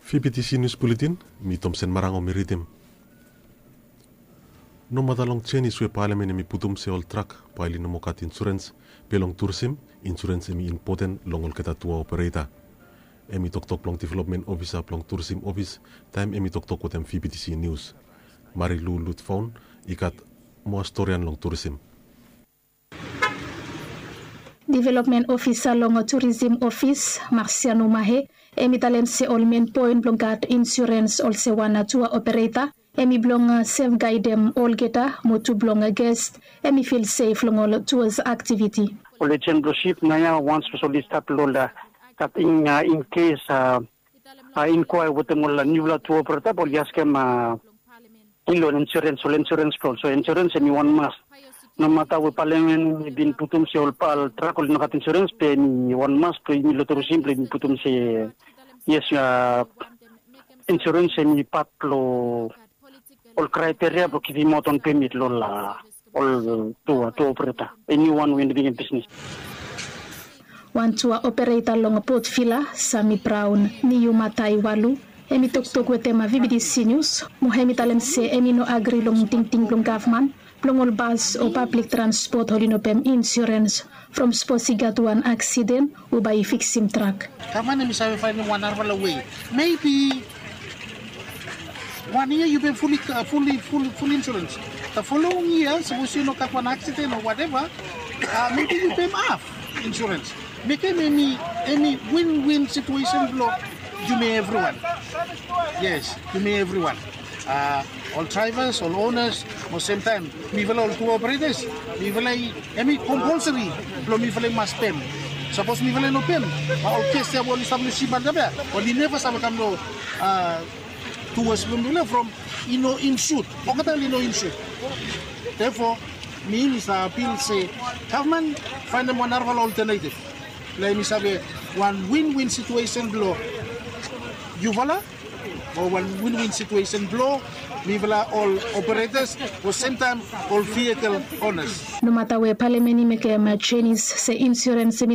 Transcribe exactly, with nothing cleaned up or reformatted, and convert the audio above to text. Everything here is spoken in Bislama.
Fibitisi nius buletin, mi Tomsen Marango mi ridim. Nomata long jenis we palamen hem i putum se ol trak bae oli no moa gat insurens, be long turisim insurens hem i impoten long olgeta tua opereta. Hem i toktok blong developmen ofisa blong turisim ofis taem hem i toktok wetem fibitisi nius. Marilu lutfaon i gat moa storian long turisim. Developmen ofisa long turisim ofis, Marsiano Mahe, hem i talem se ol men poen blong gat insurens olsem wan tua opereta, hem i blong sefgaedem olgeta mo tu blong ges hem i fil sef long ol tuas aktiviti. Ol ejen blong sip naoia wan spesel oli stap long ol gat in kes a inkwae wetem ol niufala tua opereta blong oli askem a in long insurens ol insurens blong ol so insurens hem i wan mas. Nomata we palamen i bin putum se ol trak oli no gat insurens be hem i wan mas blong yumi long turisim blong yumi putum se yes a insurens hem i pat blong ol kraeteria blong givim aot on pemit long ol tua tua opereta. Eniwan we i no bigin bisnis. Wan tua opereta long potvila sami braon niu matai walu, hem i toktok wetem a vibitisi nius mo hem i talem se hem i no agri long tingting blong gavman blong ol bas o pablik transpot oli no pem insurens from sapos i gat wan aksiden o bae i fiksim trak. Gavman hem i save faenem wan narafala wei. Mebi wan yia yu pem fuli fuli fuli insurens. Da folowing yia sapos yu no gat wan aksiden o wateva, mebi yu pem af insurens. Mekem emi emi win win situesen blong yumi evriwan. Yes, yumi evriwan, ol draivas, ol onas, mo semtaem mifala ol tua operetas, mifala i emi kompolseri blong mifala i mas pem. Sapos mifala i no pem, ol kes ya we oli stap long sip antap ya oli neva save kam long tuas blong mifala from i no insut. Olgeta oli no insut. Therefore mi mi save apil se gavman faenem wan narafala oltenetiv blong emi save wan win win situesen blong yufala, o wan win win situesen blong mifala ol operetas, o semtaem ol vikel onas. Nomata we palamen i mekem jenis se insurens